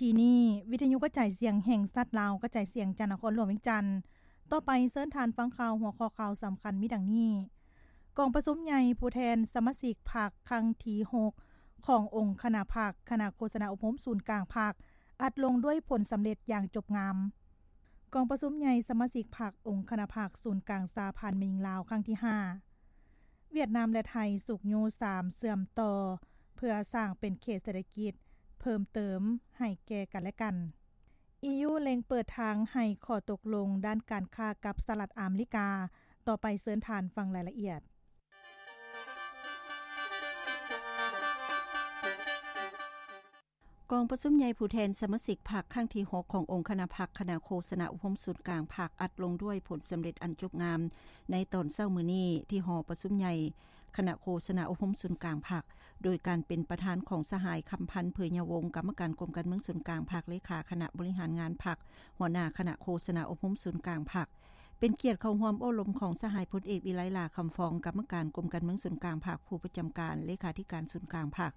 ທີ່ນີ້ ວິທະຍຸກະຈາຍສຽງແຫ່ງຊາດລາວ ກະຈາຍສຽງຈາກນະຄອນຫຼວງວຽງຈັນ. ຕໍ່ໄປເຊີນທ່ານຟັງຂ່າວ ຫົວຂໍ້ຂ່າວສຳຄັນມີດັ່ງນີ້: ກອງປະຊຸມໃຫຍ່ຜູ້ແທນສະມາຊິກພັກຄັ້ງທີຫົກ ຂອງອົງຄະນະພັກ ຄະນະໂຄສະນາອົບຮົມສູນກາງພັກ ອັດລົງດ້ວຍຜົນສຳເລັດຢ່າງຈົບງາມ. ກອງປະຊຸມໃຫຍ່ສະມາຊິກພັກອົງຄະນະພັກສູນກາງສະຫະພັນແມ່ຍິງລາວຄັ້ງທີຫ້າ. ຫວຽດນາມ ແລະ ໄທ ຊຸກຍູ້ສາມເຊື່ອມຕໍ່ ເພື່ອສ້າງເປັນເຂດເສດຖະກິດເພີ່ມເຕີມໃຫ້ແກ່ກັນແລະກັນ. ອີຢູ ເລັ່ງເປີດທາງໃຫ້ຂໍ້ຕົກລົງດ້ານການຄ້າກັບສະຫະລັດອາເມລິກາ. ຕໍ່ໄປເຊີນທ່ານຟັງລາຍລະອຽດ. ກອງປະຊຸມໃຫຍ່ຜູ້ແທນສະມາຊິກພັກຄັ້ງທີຫົກ ຂອງອົງຄະນະພັກ ຄະນະໂຄສະນາອົບຮົມສູນກາງພັກ ອັດລົງດ້ວຍຜົນສຳເລັດອັນຈົບງາມ ໃນຕອນເຊົ້າມື້ນີ້ ທີ່ຫໍປະຊຸມໃຫຍ່ຄະນະໂຄສະນາອົບຮົມສູນກາງພັກ ໂດຍການເປັນປະທານຂອງສະຫາຍ ຄຳພັນ ເຜີຍຍາວົງ ກຳມະການກົມການເມືອງສູນກາງພັກ, ເລຂາຄະນະບໍລິຫານງານພັກ, ຫົວໜ້າຄະນະໂຄສະນາອົບຮົມສູນກາງພັກ. ເປັນກຽດເຂົ້າຮ່ວມໂອ້ລົມຂອງສະຫາຍພົນເອກ ວິໄລ ຫຼ້າຄຳຟອງ ກຳມະການກົມການເມືອງສູນກາງພັກ ຜູ້ປະຈຳການເລຂາທິການສູນກາງພັກ,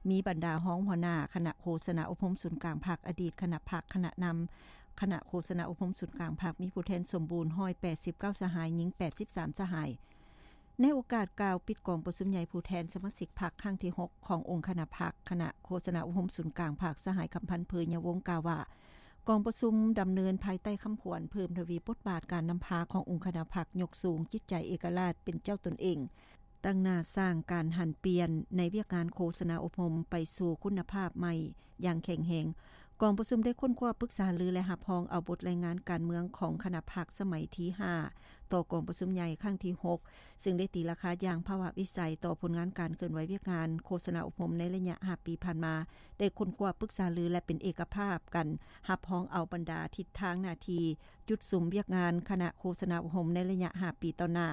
ມີບັນດາຮອງຫົວໜ້າຄະນະໂຄສະນາອົບຮົມສູນກາງພັກ, ອະດີດຄະນະພັກ, ຄະນະນຳຄະນະໂຄສະນາອົບຮົມສູນກາງພັກ, ມີຜູ້ແທນສົມບູນຮ້ອຍແປດສິບເກົ້າສະຫາຍ, ຍິງແປດສິບສາມສະຫາຍ. ໃນໂອກາດກ່າວປິດກອງປະຊຸມໃຫຍ່ຜູ້ແທນສະມາຊິກພັກຄັ້ງທີຫົກ ຂອງອົງຄະນະພັກ ຄະນະໂຄສະນາອົບຮົມສູນກາງພັກ, ສະຫາຍ ຄຳພັນ ເຜີຍຍາວົງ ກ່າວວ່າ ກອງປະຊຸມດຳເນີນພາຍໃຕ້ຄຳຂວັນເພີ່ມທະວີບົດບາດການນຳພາຂອງອົງຄະນະພັກ, ຍົກສູງຈິດໃຈເອກະລາດເປັນເຈົ້າຕົນເອງ, ຕັ້ງໜ້າສ້າງການຫັນປ່ຽນໃນວຽກງານໂຄສະນາອົບຮົມໄປສູ່ຄຸນນະພາບໃໝ່ຢ່າງແຂງແຮງ. ກອງປະຊຸມໄດ້ຄົ້ນຄວ້າປຶກສາຫາລື ແລະ ຮັບຮອງເອົາບົດລາຍງານການເມືອງຂອງຄະນະພັກສະໄໝທີຫ້າ ຕໍ່ກອງປະຊຸມໃຫຍ່ຄັ້ງທີຫົກ ຊຶ່ງໄດ້ຕີລາຄາຢ່າງພາວະວິໄສຕໍ່ຜົນງານການເຄື່ອນໄຫວວຽກງານໂຄສະນາອົບຮົມໃນໄລຍະຫ້າປີຜ່ານມາ, ໄດ້ຄົ້ນຄວ້າປຶກສາຫາລື ແລະ ເປັນເອກະພາບກັນຮັບຮອງເອົາບັນດາທິດທາງໜ້າທີ່, ຈຸດສຸມວຽກງານຄະນະໂຄສະນາອົບຮົມໃນໄລຍະຫ້າປີຕໍ່ໜ້າ,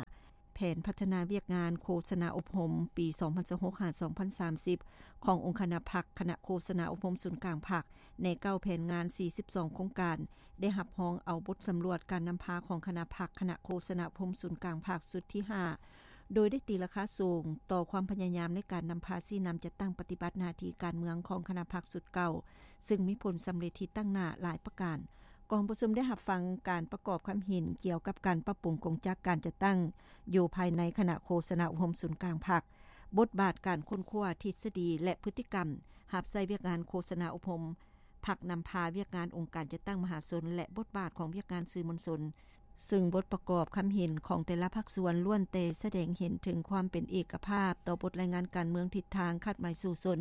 ແຜນພັດທະນາວຽກງານໂຄສະນາອົບຮົມປີສອງພັນຊາວຫົກ ຫາ ສອງພັນສາມສິບ ຂອງອົງຄະນະພັກ ຄະນະໂຄສະນາອົບຮົມສູນກາງພັກ ໃນເກົ້າແຜນງານ ສີ່ສິບສອງໂຄງການ, ໄດ້ຮັບຮອງເອົາບົດສຳຫຼວດການນຳພາຂອງຄະນະພັກ ຄະນະໂຄສະນາອົບຮົມສູນກາງພັກຊຸດທີຫ້າ ໂດຍໄດ້ຕີລາຄາສູງຕໍ່ຄວາມພະຍາຍາມໃນການນຳພາຊີ້ນຳຈັດຕັ້ງປະຕິບັດໜ້າທີ່ການເມືອງຂອງຄະນະພັກຊຸດເກົ່າ, ຊຶ່ງມີຜົນສຳເລັດທີ່ຕັ້ງໜ້າຫຼາຍປະການ. ກອງປະຊຸມໄດ້ຮັບຟັງການປະກອບຄຳເຫັນກ່ຽວກັບການປັບປຸງກົງຈັກການຈັດຕັ້ງຢູ່ພາຍໃນຄະນະໂຄສະນາອົບຮົມສູນກາງພັກ, ບົດບາດການຄົ້ນຄວ້າທິດສະດີ ແລະ ພຶດຕິກຳຮັບໃຊ້ວຽກງານໂຄສະນາອົບຮົມ, ພັກນຳພາວຽກງານອົງການຈັດຕັ້ງມະຫາຊົນ ແລະ ບົດບາດຂອງວຽກງານສື່ມວນຊົນ, ຊຶ່ງບົດປະກອບຄຳເຫັນຂອງແຕ່ລະພາກສ່ວນລ້ວນແຕ່ສະແດງເຫັນເຖິງຄວາມເປັນເອກະພາບຕໍ່ບົດລາຍງານການເມືອງ, ທິດທາງ, ຄາດໝາຍສູ້ຊົນ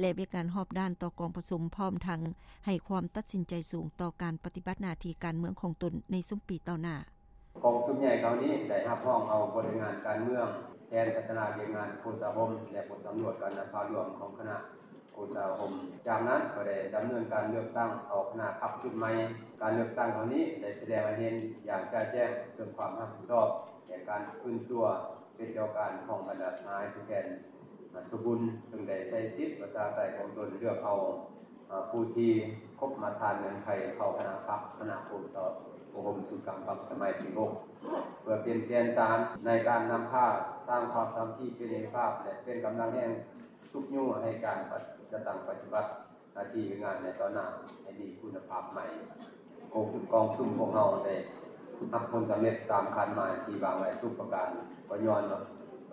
ແລະ ວຽກງານຮອບດ້ານຕໍ່ກອງປະຊຸມ, ພ້ອມທັງໃຫ້ຄວາມຕັດສິນໃຈສູງຕໍ່ການປະຕິບັດໜ້າທີ່ການເມືອງຂອງຕົນໃນຊຸມປີຕໍ່ໜ້າ. ກອງປະຊຸມໃຫຍ່ຄັ້ງນີ້ໄດ້ຮັບຮອງເອົາບົດລາຍງານການເມືອງ, ແຜນພັດທະນາວຽກງານໂຄສະອົບຮົມ ແລະ ບົດສຳຫຼວດການນຳພາລວມຂອງຄະນະໂຄສະອົບຮົມ. ຈາກນັ້ນກໍໄດ້ດຳເນີນການເລືອກຕັ້ງເອົາຄະນະພັກຊຸດໃໝ່. ການເລືອກຕັ້ງຄັ້ງນີ້ໄດ້ສະແດງໃຫ້ເຫັນຢ່າງຈະແຈ້ງເຖິງຄວາມຮັບຜິດຊອບ ແລະ ການຟື້ນຕົວເປັນເຈົ້າການຂອງບັນດາສະຫາຍຜູ້ແທນສົມບູນ, ເຊິ່ງໄດ້ໃຊ້ສິດປະຊາທິປະໄຕຂອງຕົນເລືອກເອົາ ອາ ຜູ້ທີ່ຄົບມາດຕະຖານເງື່ອນໄຂເຂົ້າຄະນະພັກ ຄະນະໂຄສະອົບຮົມສູນກາງພັກສະໄໝທີຫົກ ເພື່ອເປັນແກນສານໃນການນຳພາສ້າງຄວາມສາມັກຄີເປັນເອກະພາບ ແລະ ເປັນກຳລັງແຮງຊຸກຍູ້ໃຫ້ການຈັດຕັ້ງປະຕິບັດໜ້າທີ່ວຽກງານໃນຕໍ່ໜ້າໃຫ້ມີຄຸນນະພາບໃໝ່. ກອງປະຊຸມຂອງເຮົາໄດ້ຮັບຜົນສຳເລັດຕາມຄາດໝາຍທີ່ວາງໄວ້ທຸກປະການ, ກໍຍ້ອນ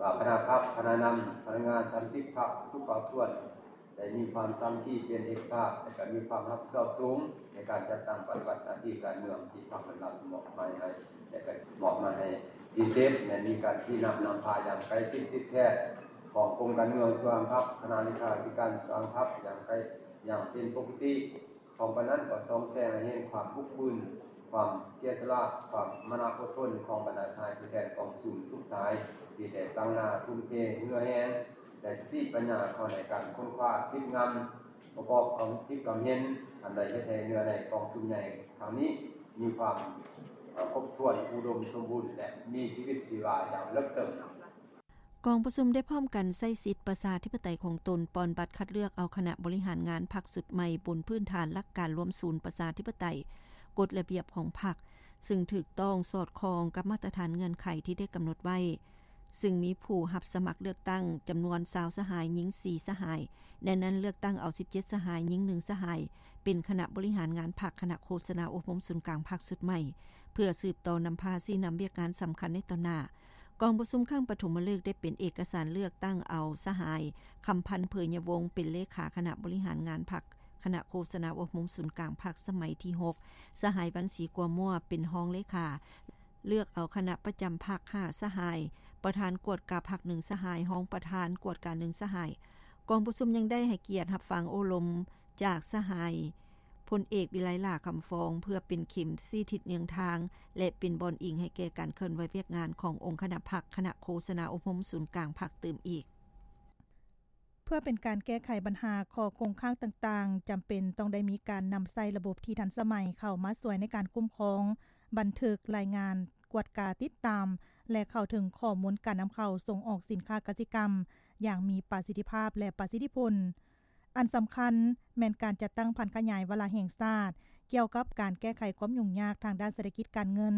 ວ່າຄະນະພັກ, ຄະນະນຳ, ພະນັກງານສາມສິບພັກ, ທຸກພາກສ່ວນ ໄດ້ມີຄວາມສາມັກຄີເປັນເອກະພາບ ແລະ ກໍມີຄວາມຮັບຜິດຊອບສູງໃນການຈັດຕັ້ງປະຕິບັດໜ້າທີ່ການເມືອງທີ່ພັກໄດ້ຮັບມອບໝາຍໃຫ້ ແລະ ກໍມອບໝາຍໃຫ້ພິເສດ ແລະ ມີການຊີ້ນຳນຳພາຢ່າງໃກ້ຊິດຕິດແທດຂອງກົມການເມືອງສ່ວນກາງພັກ, ຄະນະເລຂາທິການສ່ວນກາງພັກຢ່າງໃກ້ ຢ່າງເປັນປົກກະຕິ. ພ້ອມກັນນັ້ນກໍສ່ອງແສງໃຫ້ເຫັນຄວາມບຸກບືນ, ຄວາມເສຍສະຫຼະ, ຄວາມມານະອົດທົນຂອງບັນດາສະຫາຍຜູ້ແທນກອງປະຊຸມທຸກສາຍ ທີ່ໄດ້ຕັ້ງໜ້າທຸ່ມເທເຫື່ອແຮງ ແລະ ສະຕິປັນຍາເຂົ້າໃນການຄົ້ນຄວ້າ, ຄິດງຳ, ປະກອບຄວາມຄິດຄວາມເຫັນອັນໄດ້ເຮັດໃຫ້ເນື້ອໃນກອງປະຊຸມໃຫຍ່ຄັ້ງນີ້ມີຄວາມ ເອີ່ ຄົບຖ້ວນ, ອຸດົມສົມບູນ ແລະ ມີຊີວິດຊີວາຢ່າງເລິກເຊິ່ງ. ກອງປະຊຸມໄດ້ພ້ອມກັນໃຊ້ສິດປະຊາທິປະໄຕຂອງຕົນ ປ່ອນບັດຄັດເລືອກເອົາຄະນະບໍລິຫານງານພັກຊຸດໃໝ່ ບົນພື້ນຖານຫຼັກການລວມສູນປະຊາທິປະໄຕ, ກົດລະບຽບຂອງພັກ, ຊຶ່ງຖືກຕ້ອງສອດຄ່ອງກັບມາດຕະຖານເງື່ອນໄຂທີ່ໄດ້ກຳນົດໄວ້. ຊຶ່ງມີຜູ້ຮັບສະໝັກເລືອກຕັ້ງຈຳນວນຊາວສະຫາຍ, ຍິງສີ່ສະຫາຍ, ໃນນັ້ນເລືອກຕັ້ງເອົາສິບເຈັດສະຫາຍ, ຍິງໜຶ່ງສະຫາຍ, ເປັນຄະນະບໍລິຫານງານພັກ, ຄະນະໂຄສະນາອົບຮົມສູນກາງພັກຊຸດໃໝ່ ເພື່ອສືບຕໍ່ນຳພາຊີ້ນຳວຽກງານສຳຄັນໃນຕໍ່ໜ້າ. ກອງປະຊຸມຄັ້ງປະຖົມມະລຶກໄດ້ເປັນເອກະສານເລືອກຕັ້ງເອົາສະຫາຍ ຄຳພັນ ເຜີຍຍະວົງ ເປັນເລຂາຄະນະບໍລິຫານງານພັກ, ຄະນະໂຄສະນາອົບຮົມສູນກາງພັກສະໄໝທີຫົກ, ສະຫາຍ ວັນສີ ກົວມົວ ເປັນຮອງເລຂາ, ເລືອກເອົາຄະນະປະຈຳພັກຫ້າສະຫາຍ, ປະທານກວດກາພັກໜຶ່ງສະຫາຍ, ຮອງປະທານກວດກາໜຶ່ງສະຫາຍ. ກອງປະຊຸມຍັງໄດ້ໃຫ້ກຽດຮັບຟັງໂອ້ລົມຈາກສະຫາຍ ພົນເອກ ວິໄລຫຼ້າ ຄຳຟອງ ເພື່ອເປັນເຂັມຊີ້ທິດເຍືອງທາງ ແລະ ເປັນບ່ອນອີງໃຫ້ແກ່ການເຄື່ອນໄຫວວຽກງານຂອງອົງຄະນະພັກ, ຄະນະໂຄສະນາອົບຮົມສູນກາງພັກຕື່ມອີກ. ເພື່ອເປັນການແກ້ໄຂບັນຫາຂໍ້ຄົງຄ້າງຕ່າງໆ, ຈຳເປັນຕ້ອງໄດ້ມີການນຳໃຊ້ລະບົບທີ່ທັນສະໄໝເຂົ້າມາຊ່ວຍໃນການຄຸ້ມຄອງ, ບັນທຶກ, ລາຍງານ, ກວດກາ, ຕິດຕາມ ແລະ ເຂົ້າເຖິງຂໍ້ມູນການນຳເຂົ້າສົ່ງອອກສິນຄ້າກະສິກຳຢ່າງມີປະສິດທິພາບ ແລະ ປະສິດທິຜົນ. ອັນສຳຄັນແມ່ນການຈັດຕັ້ງຜັນຂະຫຍາຍວາລະແຫ່ງຊາດກ່ຽວກັບການແກ້ໄຂຄວາມຫຍຸ້ງຍາກທາງດ້ານເສດຖະກິດການເງິນ,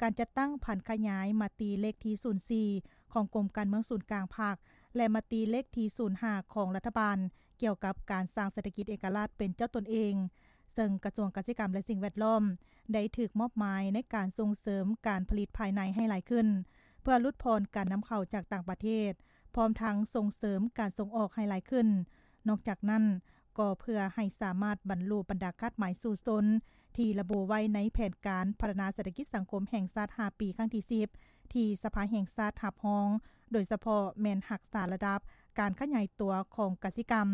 ການຈັດຕັ້ງຜັນຂະຫຍາຍມະຕິເລກທີສູນສີ່ຂອງກົມການເມືອງສູນກາງພັກ ແລະ ມະຕິເລກທີສູນຫ້າຂອງລັດຖະບານກ່ຽວກັບການສ້າງເສດຖະກິດເອກະລາດເປັນເຈົ້າຕົນເອງ, ເຊິ່ງກະຊວງກະສິກຳ ແລະ ສິ່ງແວດລ້ອມໄດ້ຖືກມອບໝາຍໃນການສົ່ງເສີມການຜະລິດພາຍໃນໃຫ້ຫຼາຍຂຶ້ນ ເພື່ອຫຼຸດຜ່ອນການນຳເຂົ້າຈາກຕ່າງປະເທດ, ພ້ອມທັງສົ່ງເສີມການສົ່ງອອກໃຫ້ຫຼາຍຂຶ້ນ. ນອກຈາກນັ້ນ, ກໍເພື່ອໃຫ້ສາມາດບັນລຸບັນດາຄາດໝາຍສູ້ຊົນທີ່ລະບຸໄວ້ໃນແຜນການພັດທະນາເສດຖະກິດສັງຄົມແຫ່ງຊາດຫ້າປີຄັ້ງທີສິບ ທີ່ສະພາແຫ່ງຊາດຮັບຮອງ, ໂດຍສະເພາະແມ່ນຮັກສາລະດັບການຂະຫຍາຍຕົວຂອງກະສິກຳ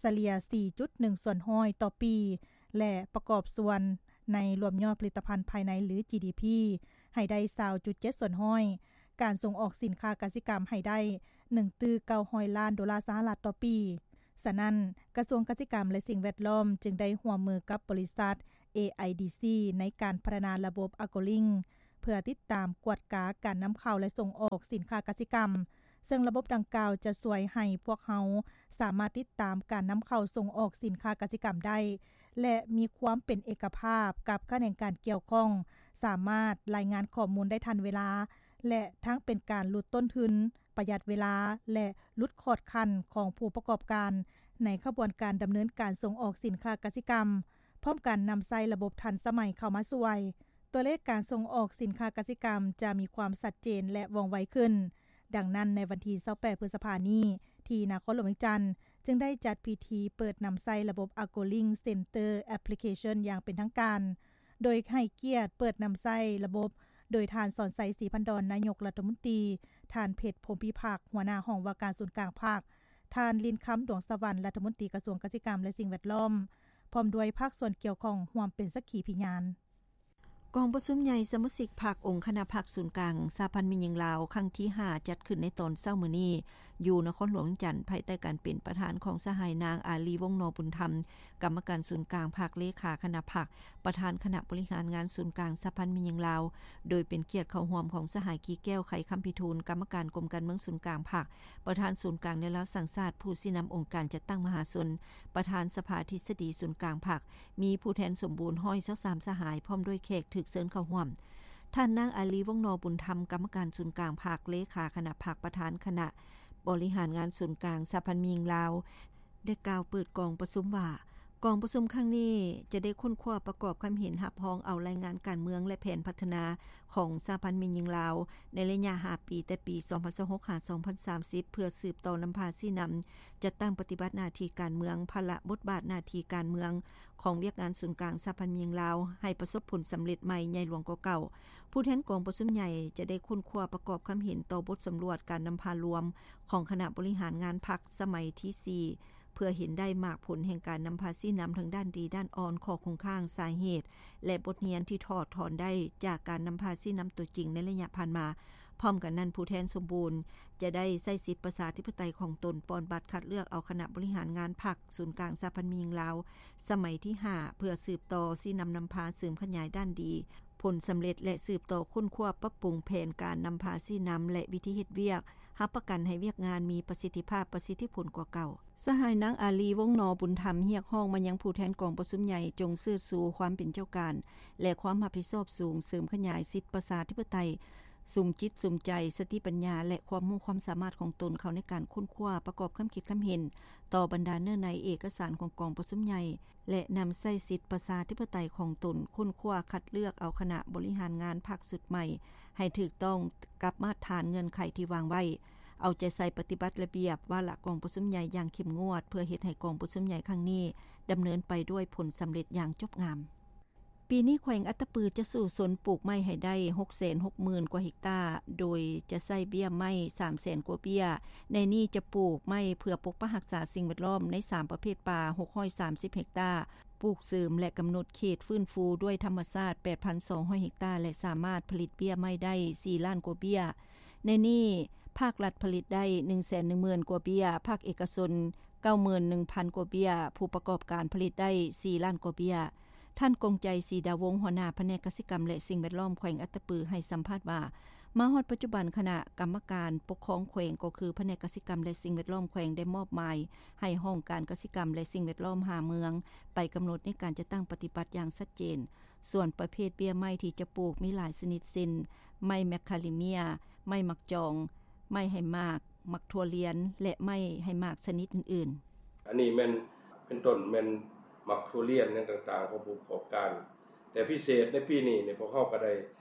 ສະເລ່ຍສີ່ຈຸດໜຶ່ງສ່ວນຮ້ອຍຕໍ່ປີ ແລະ ປະກອບສ່ວນໃນລວມຍອດຜະລິດຕະພັນພາຍໃນ ຫຼື ຈີດີພີ ໃຫ້ໄດ້ຊາວຈຸດເຈັດສ່ວນຮ້ອຍ, ການສົ່ງອອກສິນຄ້າກະສິກຳໃຫ້ໄດ້ໜຶ່ງຕື້ເກົ້າຮ້ອຍລ້ານໂດລາສະຫະລັດຕໍ່ປີ. ສະນັ້ນ, ກະຊວງກະສິກຳ ແລະ ສິ່ງແວດລ້ອມຈຶ່ງໄດ້ຮ່ວມມືກັບບໍລິສັດ ເອໄອດີຊີ ໃນການພັດທະນາລະບົບ Agrolink ເພື່ອຕິດຕາມກວດກາການນຳເຂົ້າ ແລະ ສົ່ງອອກສິນຄ້າກະສິກຳ, ເຊິ່ງລະບົບດັ່ງກ່າວຈະຊ່ວຍໃຫ້ພວກເຮົາສາມາດຕິດຕາມການນຳເຂົ້າສົ່ງອອກສິນຄ້າກະສິກຳໄດ້ ແລະ ມີຄວາມເປັນເອກະພາບກັບຂະແໜງການກ່ຽວຂ້ອງ, ສາມາດລາຍງານຂໍ້ມູນໄດ້ທັນເວລາ ແລະ ທັງເປັນການຫຼຸດຕົ້ນທຶນ, ປະຢັດເວລາ ແລະ ຫຼຸດຂອດຂັ້ນຂອງຜູ້ປະກອບການໃນຂະບວນການດຳເນີນການສົ່ງອອກສິນຄ້າກະສິກຳ, ພ້ອມກັນນຳໃຊ້ລະບົບທັນສະໄໝເຂົ້າມາຊ່ວຍ. ຕົວເລກການສົ່ງອອກສິນຄ້າກະສິກຳຈະມີຄວາມຊັດເຈນ ແລະ ວ່ອງໄວຂຶ້ນ. ດັ່ງນັ້ນ, ໃນວັນທີຊາວແປດ ພຶດສະພານີ້, ທີ່ນະຄອນຫຼວງວຽງຈັນ ຈຶ່ງໄດ້ຈັດພິທີເປີດນຳໃຊ້ລະບົບ Agrolink Center Application ຢ່າງເປັນທາງການ, ໂດຍໃຫ້ກຽດເປີດນຳໃຊ້ລະບົບໂດຍທ່ານ ສອນໄຊ ສີພັນດອນ ນາຍົກລັດຖະມົນຕີ, ທ່ານ ເພັດ ພົມພິພັກ ຫົວໜ້າຫ້ອງວ່າການສູນກາງພັກ, ທ່ານ ລິນຄຳ ດວງສະຫວັນ ລັດຖະມົນຕີກະຊວງກະສິກຳ ແລະ ສິ່ງແວດລ້ອມ, ພ້ອມດ້ວຍພາກສ່ວນກ່ຽວຂ້ອງຮ່ວມເປັນສັກຂີພະຍານ. ກອງປະຊຸມໃຫຍ່ສະມາຊິກພັກອົງຄະນະພັກສູນກາງສະຫະພັນແມ່ຍິງລາວ ຄັ້ງທີຫ້າ ຈັດຂຶ້ນໃນຕອນເຊົ້າມື້ນີ້ ຢູ່ນະຄອນຫຼວງວຽງຈັນ ພາຍໃຕ້ການເປັນປະທານຂອງສະຫາຍນາງ ອາລີ ວົງນໍບຸນທຳ ກຳມະການສູນກາງພັກ, ເລຂາຄະນະພັກ, ປະທານຄະນະບໍລິຫານງານສູນກາງສະຫະພັນແມ່ຍິງລາວ, ໂດຍເປັນກຽດເຂົ້າຮ່ວມຂອງສະຫາຍ ກີແກ້ວ ໄຂຄຳພິທູນ ກຳມະການກົມການເມືອງສູນກາງພັກ, ປະທານສູນກາງແນວລາວສ້າງຊາດ, ຜູ້ຊີ້ນຳອົງການຈັດຕັ້ງມະຫາຊົນ, ປະທານສະພາທິດສະດີສູນກາງພັກ, ມີຜູ້ແທນສົມບູນຮ້ອຍຊາວສາມສະຫາຍ ພ້ອມດ້ວຍແຂກຖືກເຊີນເຂົ້າຮ່ວມ. ທ່ານນາງ ອາລີ ວົງນໍບຸນທຳ ກຳມະການສູນກາງພັກ, ເລຂາຄະນະພັກ, ປະທານຄະນະບໍລິຫານງານສູນກາງສະຫະພັນແມ່ຍິງລາວ ໄດ້ກ່າວເປີດກອງປະຊຸມວ່າ, ກອງປະຊຸມຄັ້ງນີ້ຈະໄດ້ຄົ້ນຄວ້າປະກອບຄຳເຫັນຮັບຮອງເອົາລາຍງານການເມືອງ ແລະ ແຜນພັດທະນາຂອງສະຫະພັນແມ່ຍິງລາວ ໃນໄລຍະຫ້າປີ ແຕ່ປີສອງພັນຊາວຫົກ ຫາ ສອງພັນສາມສິບ ເພື່ອສືບຕໍ່ນຳພາຊີ້ນຳ ຈັດຕັ້ງປະຕິບັດໜ້າທີ່ການເມືອງ, ພາລະບົດບາດໜ້າທີ່ການເມືອງຂອງວຽກງານສູນກາງສະຫະພັນແມ່ຍິງລາວ ໃຫ້ປະສົບຜົນສຳເລັດໃໝ່ໃຫຍ່ຫຼວງກວ່າເກົ່າ. ຜູ້ແທນກອງປະຊຸມໃຫຍ່ຈະໄດ້ຄົ້ນຄວ້າປະກອບຄຳເຫັນຕໍ່ບົດສຳຫຼວດການນຳພາລວມຂອງຄະນະບໍລິຫານງານພັກສະໄໝທີສີ່ ເພື່ອເຫັນໄດ້ໝາກຜົນແຫ່ງການນຳພາຊີ້ນຳທາງດ້ານດີ, ດ້ານອ່ອນ, ຂໍ້ຄົງຄ້າງ, ສາເຫດ ແລະ ບົດຮຽນທີ່ຖອດຖອນໄດ້ຈາກການນຳພາຊີ້ນຳຕົວຈິງໃນໄລຍະຜ່ານມາ. ພ້ອມກັນນັ້ນ, ຜູ້ແທນສົມບູນຈະໄດ້ໃຊ້ສິດປະຊາທິປະໄຕຂອງຕົນ ປ່ອນບັດຄັດເລືອກເອົາຄະນະບໍລິຫານງານພັກສູນກາງສະຫະພັນແມ່ຍິງລາວ ສະໄໝທີຫ້າ ເພື່ອສືບຕໍ່ຊີ້ນຳນຳພາເສີມຂະຫຍາຍດ້ານດີ, ຜົນສຳເລັດ ແລະ ສືບຕໍ່ຄົ້ນຄວ້າປັບປຸງແຜນການນຳພາຊີ້ນຳ ແລະ ວິທີເຮັດວຽກ, ຮັບປະກັນໃຫ້ວຽກງານມີປະສິດທິພາບ, ປະສິດທິຜົນກວ່າເກົ່າ. ສະຫາຍນາງ ອາລີ ວົງນໍບຸນທຳ ຮຽກຮ້ອງມາຍັງຜູ້ແທນກອງປະຊຸມໃຫຍ່ ຈົ່ງເຊີດຊູຄວາມເປັນເຈົ້າການ ແລະ ຄວາມຮັບຜິດຊອບສູງ, ເສີມຂະຫຍາຍສິດປະຊາທິປະໄຕ, ສຸມຈິດສຸມໃຈ, ສະຕິປັນຍາ ແລະ ຄວາມຮູ້ຄວາມສາມາດຂອງຕົນເຂົ້າໃນການຄົ້ນຄວ້າ, ປະກອບຄຳຄິດຄຳເຫັນຕໍ່ບັນດາເນື້ອໃນເອກະສານຂອງກອງປະຊຸມໃຫຍ່ ແລະ ນຳໃຊ້ສິດປະຊາທິປະໄຕຂອງຕົນ, ຄົ້ນຄວ້າຄັດເລືອກເອົາຄະນະບໍລິຫານງານພັກຊຸດໃໝ່ໃຫ້ຖືກຕ້ອງກັບມາດຖານເງື່ອນໄຂທີ່ວາງໄວ້, ເອົາໃຈໃສ່ປະຕິບັດລະບຽບວາລະກອງປະຊຸມໃຫຍ່ຢ່າງເຂັ້ມງວດ ເພື່ອເຮັດໃຫ້ກອງປະຊຸມໃຫຍ່ຄັ້ງນີ້ດຳເນີນໄປດ້ວຍຜົນສຳເລັດຢ່າງຈົບງາມ. ປີນີ້ແຂວງອັດຕະປືຈະສູ້ຊົນປູກໄມ້ໃຫ້ໄດ້ ຫົກແສນຫົກໝື່ນ ກວ່າເຮັກຕາ, ໂດຍຈະໃຊ້ເບ້ຍໄມ້ ສາມແສນກວ່າເບ້ຍ. ໃນນີ້ຈະປູກໄມ້ເພື່ອປົກປັກຮັກສາສິ່ງແວດລ້ອມໃນສາມປະເພດປ່າ ຫົກຮ້ອຍສາມສິບເຮັກຕາ, ປູກເສີມ ແລະ ກຳນົດເຂດຟື້ນຟູດ້ວຍທຳມະຊາດ ແປດພັນສອງຮ້ອຍເຮັກຕາ ແລະ ສາມາດຜະລິດເບ້ຍໄມ້ໄດ້ ສີ່ລ້ານກວ່າເບ້ຍ. ໃນນີ້ພາກລັດຜະລິດໄດ້ ໜຶ່ງແສນໜຶ່ງໝື່ນກວ່າເບ້ຍ, ພາກເອກະຊົນ ເກົ້າໝື່ນໜຶ່ງພັນກວ່າເບ້ຍ, ຜູ້ປະກອບການຜະລິດໄດ້ ສີ່ລ້ານກວ່າເບ້ຍ. ທ່ານ ກົງໃຈ ສີດາວົງ ຫົວໜ້າພະແນກກະສິກຳ ແລະ ສິ່ງແວດລ້ອມແຂວງອັດຕະປື ໃຫ້ສຳພາດວ່າ ມາຮອດປັດຈຸບັນ ຄະນະກຳມະການປົກຄອງແຂວງ ກໍຄືພະແນກກະສິກຳ ແລະ ສິ່ງແວດລ້ອມແຂວງ ໄດ້ມອບໝາຍໃຫ້ຫ້ອງການກະສິກຳ ແລະ ສິ່ງແວດລ້ອມ ຫ້າເມືອງ ໄປກຳນົດໃນການຈັດຕັ້ງປະຕິບັດຢ່າງຊັດເຈນ. ສ່ວນປະເພດເບ້ຍໄມ້ທີ່ຈະປູກມີຫຼາຍຊະນິດ ເຊັ່ນ ໄມ້ແມກຄາລິເມຍ, ໄມ້ໝາກຈອງ, ໄມ້ໃຫ້ໝາກ, ໝາກຖົ່ວລຽນ ແລະ ໄມ້ໃຫ້ໝາກຊະນິດອື່ນໆ. ອັນນີ້ແມ່ນເປັນຕົ້ນແມ່ນໝາກຖົ່ວລຽນຫຍັງຕ່າງໆຂອງຜູ້ປະກອບການ. ແຕ່ພິເສດໃນປີນີ້ນີ້ ພວກເຮົາກໍໄດ້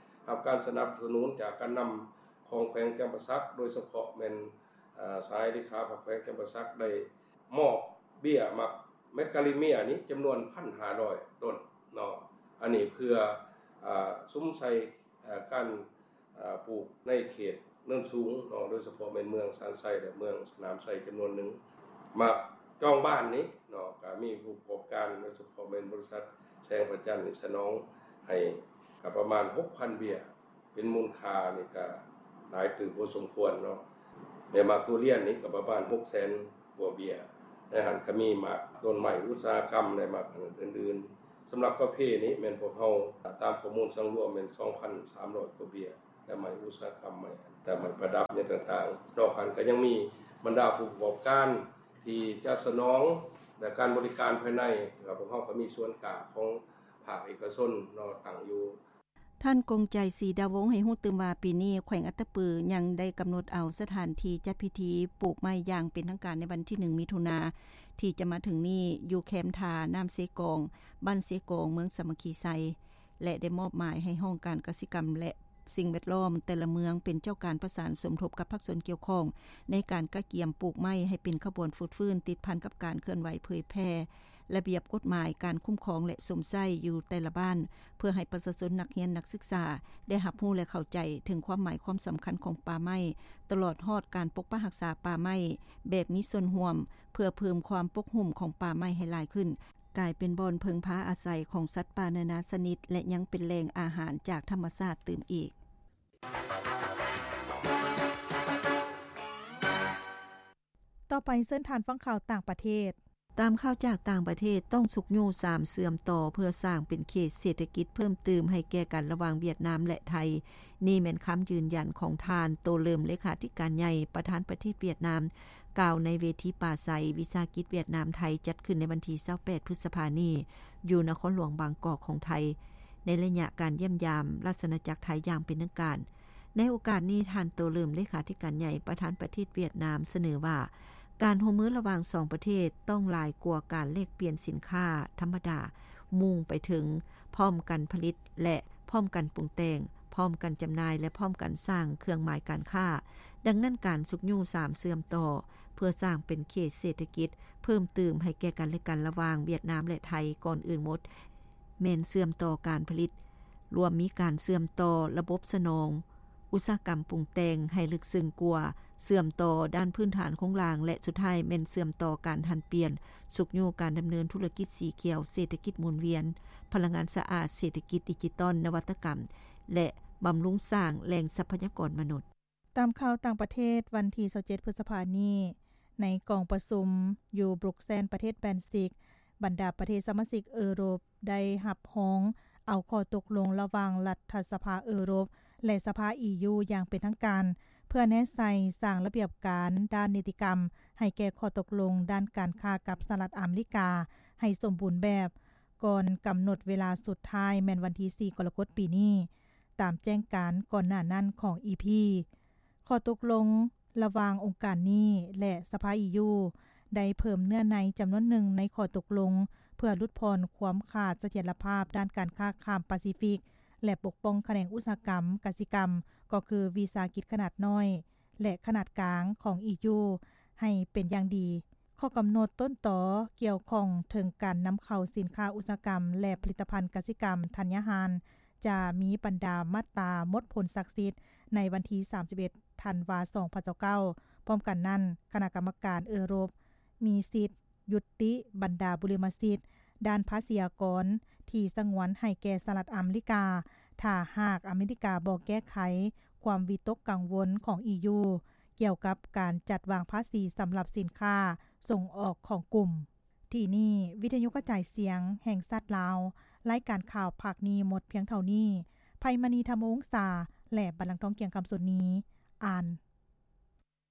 ຮັບການສະໜັບສະໜູນຈາກການນຳຂອງແຂວງຈຳປາສັກ, ໂດຍສະເພາະແມ່ນ ອາ ສະຫາຍເລຂາພັກແຂວງຈຳປາສັກໄດ້ມອບເບ້ຍໝາກແມກກາລິເມຍນີ້ຈຳນວນ ໜຶ່ງພັນຫ້າຮ້ອຍຕົ້ນເນາະ. ອັນນີ້ເພື່ອ ອາ ສຸມໃສ່ ອາ ການ ອາ ປູກໃນເຂດເນີນສູງເນາະ, ໂດຍສະເພາະແມ່ນເມືອງຊານໄຊ ແລະ ເມືອງສະໜາມໄຊຈຳນວນໜຶ່ງ. ໝາກຈອງບ້ານນີ້ເນາະ ກໍມີຜູ້ປະກອບການ ໂດຍສະເພາະແມ່ນບໍລິສັດແສງພະຈັນນີ້ສະໜອງໃຫ້ກໍປະມານ ຫົກພັນເບ້ຍ. ເປັນມູນຄ່ານີ້ກະຫຼາຍຕື່ມພໍສົມຄວນເນາະ. ແລະ ໝາກທຸລຽນນີ້ກະປະມານ ຫົກແສນກວ່າເບ້ຍ. ໃນຫັ້ນກະມີໝາກຕົ້ນໄມ້ອຸດສາຫະກຳ ແລະ ໝາກອັນອື່ນໆ. ສຳລັບກາເຟນີ້ແມ່ນພວກເຮົາຕາມຂໍ້ມູນສັງລວມແມ່ນ ສອງພັນສາມຮ້ອຍກວ່າເບ້ຍ ແລະ ໄມ້ອຸດສາຫະກຳ ໄມ້ ແລະ ໄມ້ປະດັບຫຍັງຕ່າງໆ. ນອກນັ້ນກະຍັງມີບັນດາຜູ້ປະກອບການທີ່ຈະສະໜອງ ແລະ ການບໍລິການພາຍໃນ ແລະ ພວກເຮົາກະມີສວນກ້າຂອງພາກເອກະຊົນເນາະ ຕັ້ງຢູ່ ທ່ານ ກົງໃຈ ສີດາວົງ ໃຫ້ຮູ້ຕື່ມວ່າ ປີນີ້ແຂວງອັດຕະປືຍັງໄດ້ກຳນົດເອົາສະຖານທີ່ຈັດພິທີປູກໄມ້ຢ່າງເປັນທາງການໃນວັນທີໜຶ່ງ ມິຖຸນາ ທີ່ຈະມາເຖິງນີ້ ຢູ່ແຄມທ່ານ້ຳເຊກອງ, ບ້ານເຊກອງ, ເມືອງສາມັກຄີໄຊ ແລະ ໄດ້ມອບໝາຍໃຫ້ຫ້ອງການກະສິກຳ ແລະ ສິ່ງແວດລ້ອມແຕ່ລະເມືອງເປັນເຈົ້າການປະສານສົມທົບກັບພາກສ່ວນກ່ຽວຂ້ອງ ໃນການກະກຽມປູກໄມ້ໃຫ້ເປັນຂະບວນຟົດຟື້ນ ຕິດພັນກັບການເຄື່ອນໄຫວເຜີຍແຜ່ ລະບຽບກົດໝາຍການຄຸ້ມຄອງ ແລະ ຊົມໃຊ້ຢູ່ແຕ່ລະບ້ານ ເພື່ອໃຫ້ປະຊາຊົນ, ນັກຮຽນ, ນັກສຶກສາ ໄດ້ຮັບຮູ້ ແລະ ເຂົ້າໃຈເຖິງຄວາມໝາຍຄວາມສຳຄັນຂອງປ່າໄມ້, ຕະຫຼອດຮອດການປົກປັກຮັກສາປ່າໄມ້ແບບມີສ່ວນຮ່ວມ ເພື່ອເພີ່ມຄວາມປົກຫຸ້ມຂອງປ່າໄມ້ໃຫ້ຫຼາຍຂຶ້ນ, ກາຍເປັນບ່ອນເພິ່ງພາອາໄສຂອງສັດປ່ານານາຊະນິດ ແລະ ຍັງເປັນແຫຼ່ງອາຫານຈາກທຳມະຊາດຕື່ມອີກ. ຕໍ່ໄປເຊີນທ່ານຟັງຂ່າວຕ່າງປະເທດ. ຕາມຂ່າວຈາກຕ່າງປະເທດ, ຕ້ອງຊຸກຍູ້ສາມເຊື່ອມຕໍ່ເພື່ອສ້າງເປັນເຂດເສດຖະກິດເພີ່ມຕື່ມໃຫ້ແກ່ກັນລະຫວ່າງຫວຽດນາມ ແລະ ໄທ. ນີ້ແມ່ນຄຳຢືນຢັນຂອງທ່ານ ໂຕເລີມ ເລຂາທິການໃຫຍ່ ປະທານປະເທດຫວຽດນາມ ກ່າວໃນເວທີປາໄສວິສາຫະກິດຫວຽດນາມ-ໄທ ຈັດຂຶ້ນໃນວັນທີຊາວແປດ ພຶດສະພານີ້ ຢູ່ນະຄອນຫຼວງບາງກອກຂອງໄທ ໃນໄລຍະການຢ້ຽມຢາມລາຊະອານາຈັກໄທຢ່າງເປັນທາງການ. ໃນໂອກາດນີ້, ທ່ານ ໂຕເລີມ ເລຂາທິການໃຫຍ່ ປະທານປະເທດຫວຽດນາມ ສະເໜີວ່າ ການຮ່ວມມືລະຫວ່າງສອງປະເທດຕ້ອງຫຼາຍກວ່າການແລກປ່ຽນສິນຄ້າທຳມະດາ, ມຸ່ງໄປເຖິງພ້ອມກັນຜະລິດ ແລະ ພ້ອມກັນປຸງແຕ່ງ, ພ້ອມກັນຈຳໜ່າຍ ແລະ ພ້ອມກັນສ້າງເຄື່ອງໝາຍການຄ້າ. ດັ່ງນັ້ນ, ການຊຸກຍູ້ສາມເຊື່ອມຕໍ່ ເພື່ອສ້າງເປັນເຂດເສດຖະກິດເພີ່ມຕື່ມໃຫ້ແກ່ກັນແລະກັນລະຫວ່າງຫວຽດນາມ ແລະ ໄທ ກ່ອນອື່ນໝົດ ແມ່ນເຊື່ອມຕໍ່ການຜະລິດ, ລວມມີການເຊື່ອມຕໍ່ລະບົບສະໜອງ, ອຸດສາຫະກຳປຸງແຕ່ງໃຫ້ເລິກເຊິ່ງກວ່າ, ເຊື່ອມຕໍ່ດ້ານພື້ນຖານໂຄງລ່າງ ແລະ ສຸດທ້າຍແມ່ນເຊື່ອມຕໍ່ການຫັນປ່ຽນ, ຊຸກຍູ້ການດຳເນີນທຸລະກິດສີຂຽວ, ເສດຖະກິດໝູນວຽນ, ພະລັງງານສະອາດ, ເສດຖະກິດດິຈິຕອນ, ນະວັດຕະກຳ ແລະ ບຳລຸງສ້າງແຫຼ່ງຊັບພະຍາກອນມະນຸດ. ຕາມຂ່າວຕ່າງປະເທດ, ວັນທີຊາວເຈັດ ພຶດສະພານີ້, ໃນກອງປະຊຸມຢູ່ບຣູກແຊນ ປະເທດແບນຊິກ, ບັນດາປະເທດສະມາຊິກເອີຣົບ ໄດ້ຮັບຮອງເອົາຂໍ້ຕົກລົງລະຫວ່າງລັດຖະສະພາເອີຣົບ ແລະ ສະພາ ອີຢູ ຢ່າງເປັນທາງການ ເພື່ອແນໃສ່ສ້າງລະບຽບການດ້ານນິຕິກຳໃຫ້ແກ່ຂໍ້ຕົກລົງດ້ານການຄ້າກັບສະຫະລັດອາເມລິກາໃຫ້ສົມບູນແບບ ກ່ອນກຳນົດເວລາສຸດທ້າຍ ແມ່ນວັນທີສີ່ ກໍລະກົດປີນີ້. ຕາມແຈ້ງການກ່ອນໜ້ານັ້ນຂອງ EP. ຂໍ້ຕົກລົງລະຫວ່າງອົງການນີ້ ແລະ ສະພາ EU ໄດ້ເພີ່ມເນື້ອໃນຈຳນວນໜຶ່ງໃນຂໍ້ຕົກລົງ ເພື່ອຫຼຸດຜ່ອນຄວາມຂາດສະຖຽນລະພາບດ້ານການຄ້າຂ້າມປາຊີຟິກ ແລະ ປົກປ້ອງຂະແໜງອຸດສາຫະກຳກະສິກຳ ກໍຄືວິສາຫະກິດຂະໜາດນ້ອຍ ແລະ ຂະໜາດກາງຂອງ EU ໃຫ້ເປັນຢ່າງດີ. ຂໍ້ກຳນົດຕົ້ນຕໍກ່ຽວຂ້ອງເຖິງການນຳເຂົ້າສິນຄ້າອຸດສາຫະກຳ ແລະ ຜະລິດຕະພັນກະສິກຳທັນຍະຫານ ຈະມີບັນດາມາດຕາໝົດຜົນສັກສິດໃນວັນທີສາມສິບເອັດ ທັນວາ ສອງພັນຊາວເກົ້າ. ພ້ອມກັນນັ້ນ, ຄະນະກຳມະການເອີຣົບມີສິດຍຸຕິບັນດາບຸລິມະສິດດ້ານພາສີອາກອນທີ່ສະຫງວນໃຫ້ແກ່ສະຫະລັດອາເມລິກາ ຖ້າຫາກອາເມລິກາບໍ່ແກ້ໄຂຄວາມວິຕົກກັງວົນຂອງ EU ກ່ຽວກັບການຈັດວາງພາສີສຳລັບສິນຄ້າສົ່ງອອກຂອງກຸ່ມ. ທີ່ນີ້ ວິທະຍຸກະຈາຍສຽງແຫ່ງຊາດລາວ, ລາຍການຂ່າວພາກນີ້ໝົດພຽງເທົ່ານີ້. ໄພມະນີ ທຳມະວົງສາ ແລະ ບັນລັງທອງ ກຽງຄຳ ສຸດນີ້ ອ່ານ.